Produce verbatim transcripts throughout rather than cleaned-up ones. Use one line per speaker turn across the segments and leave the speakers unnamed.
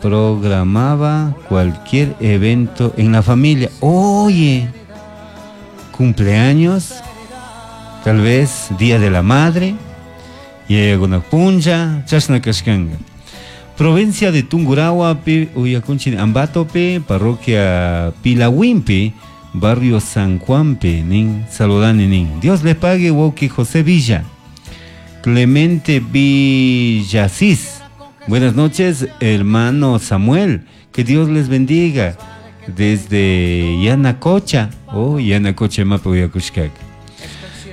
Programaba cualquier evento en la familia. Oye, cumpleaños, tal vez Día de la Madre, y hay alguna puncha, chashna kashkanga. Provincia de Tungurahua, uyakunchi Ambatope, parroquia Pilahuimpi, barrio San Juanpe, nin, saludani nin. Dios le pague, wawki José Villa. Clemente Villasís. Buenas noches, hermano Samuel. Que Dios les bendiga. Desde Yanacocha. Oh, Yanacocha mapa uyakushkak.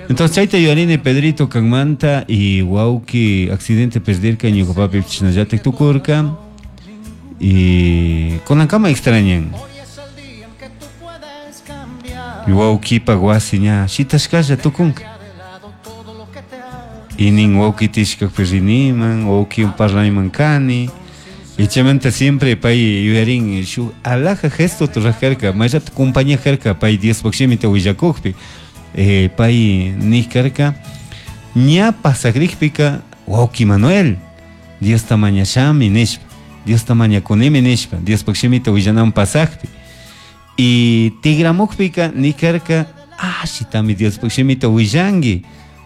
Entonces, chayta yuyarini Pedrito kanmanta y wawki accidente perdirka ñuka papi chashnallatik tukurka y kunankama extrañan. Wawkipak wasi ña shitashkalla tukunka. Y nin wawki tishkakpi riniman, wawkiwan parlaniman kani. Y chaymanta siempre pay yuyarin shuk alhaja gesto ruraj mayllata compañía karka pay Diospak shimita willakukpi. Eh, pay nik karka ña pasakrikpika wawki Manuel Diosta mañashami nishpa, Diosta mañakunimi nishpa, Diospak shimita willanaman pasakpi. Y tigramukpika nik karka ashitami Diospak shimita willanki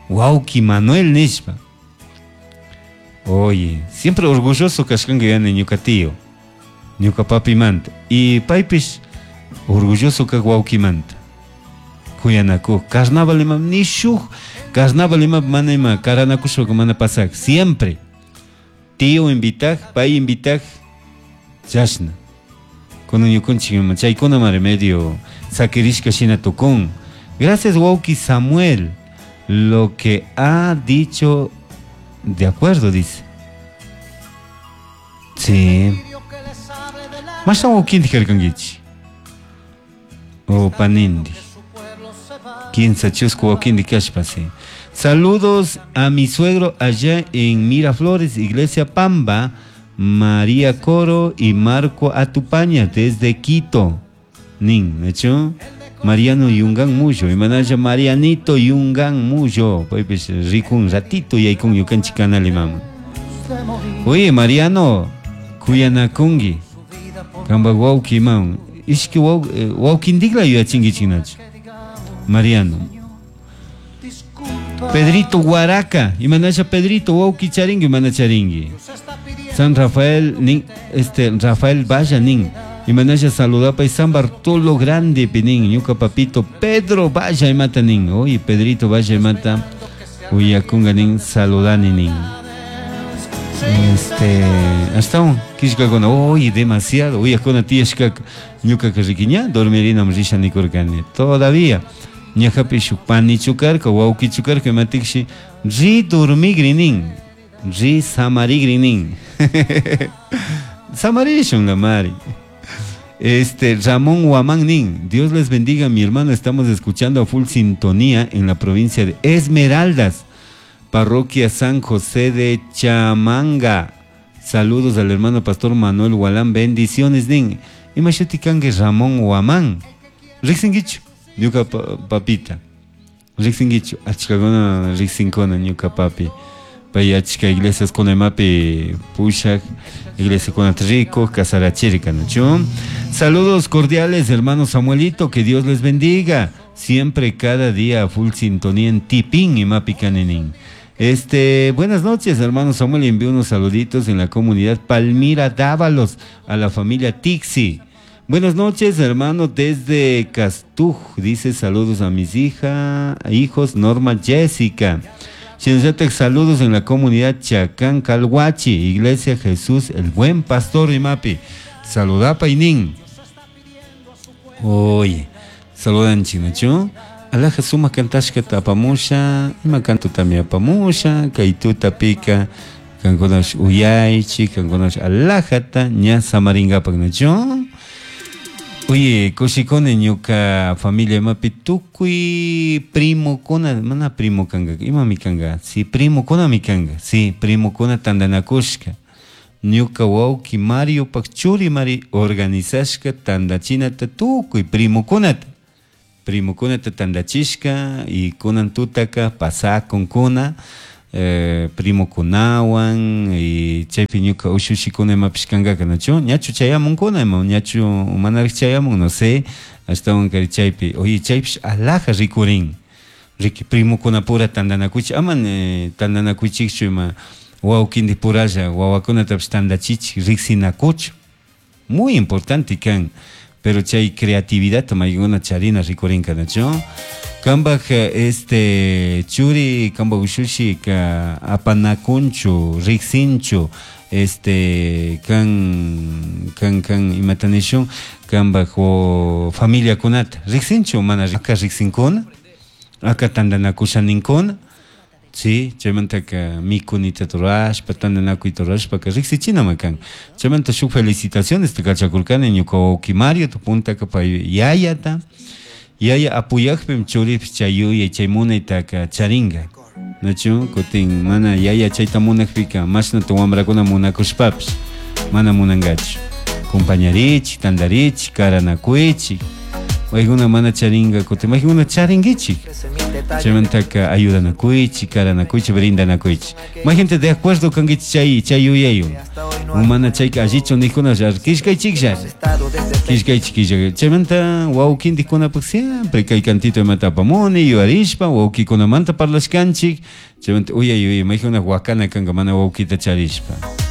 wawki Manuel nishpa. Oye, siempre orgulloso kashkanka yani ñuka tío, ñuka papimanta. Y paypish orgulloso kak wawkimanta. Kuyanakuj, carnaval ima ni shuk carnaval ima mana ima karanakushpa mana pasak, siempre. Tío invitaj, pay invitaj, chashna. Kunan ñukanchik ima chaykunamari medio sakirishka shina tukun. Gracias wawki Samuel, lo que ha dicho de acuerdo, dice. Sí. Mashna wawkintik karkankichik? O panindi. Quince chusku wawkintik kashpa, sí. Saludos a mi suegro allá en Miraflores, Iglesia Pamba, María Coro y Marco Atupaña desde Quito. Nin, ¿hecho? Mariano Yungan Muyo, imanalla Marianito Yungan Muyo. Paypish rikun ratito y con ñukanchik canal imama. Oye, Mariano, kuyanakunki. Kamba wawki imam. Ishki waw, wawkintikla yuyachinkichik nachu. Mariano. Pedrito Guaraca, imanalla Pedrito wawki charinki mana charinki. San Rafael nin, este Rafael Valla nin. Imanalla saludapa y San Bartolo Grande pinin, ñuka papito Pedro Valla imata nin. Oye, Pedrito Valla imata uyakunga nin saludani nin. Este, hasta un kishkakuna, oye, demasiado, uyakuna tiyashkaka, ñuka rikiña, dormirinam risha nikurkani. Todavía, ñajapi shuk panichukarka, wawkichukarka imatikshi, ri dormigrinin, ri samarigrinin. Samarishun la mari. Este, Ramón Guamán nin, Dios les bendiga, mi hermano, estamos escuchando a full sintonía en la provincia de Esmeraldas, parroquia San José de Chamanga. Saludos al hermano pastor Manuel Gualán, bendiciones nin. Imashuti kanki Ramón Guamán. Riksinkichu, ñuka papita. Riksinkichu, achkakuna riksinkuna ñuka papi. Pay achka iglesias kuna imapi pushak, iglesia kuna rico, kasarachirka, ¿no? Saludos cordiales, hermano Samuelito, que Dios les bendiga. Siempre, cada día, full sintonía en Tipín y Mapi Canenín. Este, buenas noches, hermano Samuel. Envío unos saluditos en la comunidad Palmira Dávalos a la familia Tixi. Buenas noches, hermano, desde Castuj. Dice saludos a mis hija, hijos Norma Jessica. Shinzatek, saludos en la comunidad Chacán Calhuachi, Iglesia Jesús, el Buen Pastor Imapi. Saludapa inin. Oye, saludan chinachu. Alaja suma kantashka apamusha, ima kantu tamia apamusha, kaytuta pika, kankunash uyaychi, kankunash alajata, ña samaringapak nachu. Oye, kushikuni ñuka familia imapi tukuy primokuna, mana primo kanga, imami kanga, si primokuna mi kanga, si primokuna tandanakushka. Ñuka wawki Mario pak churi mari organizashka tandachinata tukuy primokunata. Primokunata tandachishka y kunan tutaka pasakunkuna eh, primokunawan y chaypi ñuka ushushikuna imapish kankaka nachu ñachu chayamunkuna ima ñachu manarik chayamun no sé ashtawan kari chaypi oye chaypish alhaja rikurin riki primokunapura tantanakuchik ama eh, tantanakuchikchu ima wawkindik puralla wawakunatapish tantachichik riksinakuchu muy importante kan pero chay creatividad maykuna charina rikurinka nachu kambaj este churi kambaj ushushi ka apanakunchu riksinchu este kan kan kan imata nishun kambaj familiakunata riksinchu mana aka riksinkuna aka tantanakusha ninkuna Sí, chaymantaka mikunita rurashpa tantanakuyta rurashpaka riksichinama kan chaymanta shuk felicitaciones kachakurkani ñuka wawki Mario puntaka pay yayata yaya apuyakpim churipish chay yuyay chay munaytaka charinka nachu kutin mana yaya chayta munakpika mashnata wambrakuna munakushpapish mana munankachu compañarichik tantarichik karanakuychik paykuna mana charinka kutin maykuna charinkichik chaymantaka ayudanakuychik karanakuychik brindanakuychik gente de acuerdo kankichik chay chay yuyaywan mana chayka allichu nikuna killkaychiklla killkaychik killkay chaymanta wawkintikkunapak siempre kay cantito imata apamuni yuyarishpa wawkikunamanta parlashkanchik chaymanta uyay uyay maykuna wakana kanka mana wawkita charishpa.